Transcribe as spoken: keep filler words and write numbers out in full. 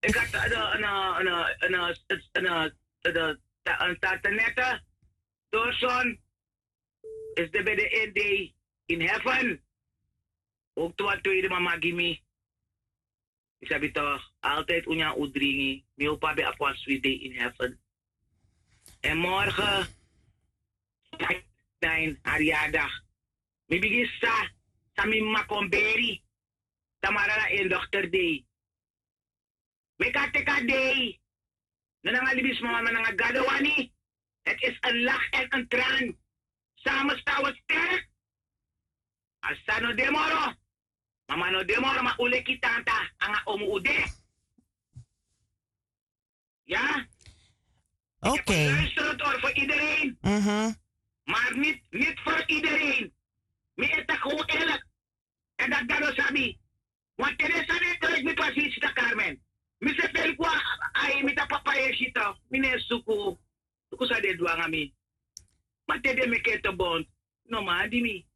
Ik had een, een, een, een, een, een, een tante nette, Dorson, is de bij de N D in heaven. Ook wan tweede mama gi mi. Yu sabi toch, altijd un nyan un dringi. Mi hoop a ben abi wan sweet day in heaven. En morgen, na in Ariada, mi bigin sa, sa mi mama kon beri. Tamara na en dochter dei. Meki a teki a dei. No nanga libisma, ma nanga Gado wani. Het is een lach en een traan. Samen staan we sterk. A sisa no de moro. Mama no de moro, ma un leki tanta nanga omu un de. Ja? Ik heb een Oké. luisterend oor voor iedereen, Mhm. maar niet, niet voor iedereen. Mi e taki gewoon eerlijk. En dat Gado sabi. Want tede san mi e trek mi pasi, sita Carmen. Mi se feli ku a, a e mi ta papa e sita. Mi ne suku. Suku san den du nanga mi. Ma tede mi e kete bond. No man di mi.